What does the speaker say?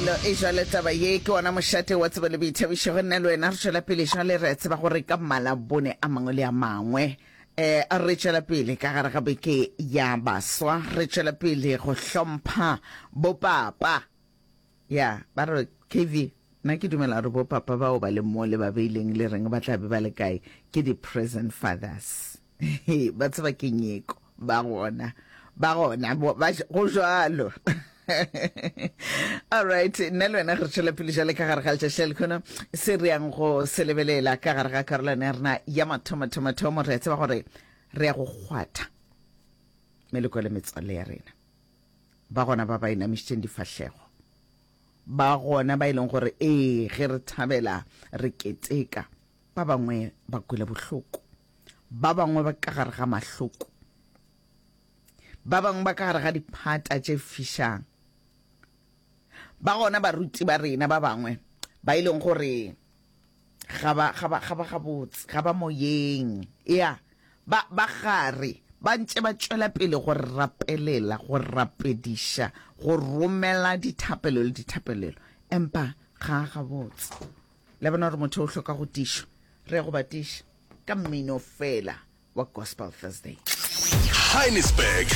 Kelello e jwale taba ye ke ona mošate wa tsebo le boithabišo go nna le wena re tšwela pele jwale re tseba gore ka malabone a mangwe le a mangwe um re tšwela pele ka gare ga beke ya baswa re tšwela pele go hlompha bopapa ya ba re kv nna ke dumela gore bopapa bao ba le mo le ba beileng le reng ba tla be ba le kae ke di-present fathers ba tseba ke nyeko ba gona ba gona go jwalo all right nna le wena re tšwela pele jale ka gare ga letšatši la lekhono se re yang go se lebelela ka gare ga karolwana ya rena ya mathomo-thomo-thomo re a tseba gore re ya go kgwatha meloko le metswalle ya rena ba gona ba ba inamišitšeng difahlego ba gona ba e leng gore ee ge re thabela re keteka ba bangwe ba kwele bohloko Ba bangwe ba ka gare ga mahloko. Ba bangwe ba ka gare ga diphata tše fišang. Ba gona baruti ba rena ba bangwe ba e leng gore ga ba ga ba ga ba gabotse, ga ba moyeng. Ya, ba ba gare ba ntše ba tšwela pele go rapelela, go rapediša, go romela dithapelo le dithapelelo, empa ga a gabotse. Le bona gore motho o hloka go tišwa, re ya go ba tiša ka mmino fela wa Gospel Thursday. Heinisberg.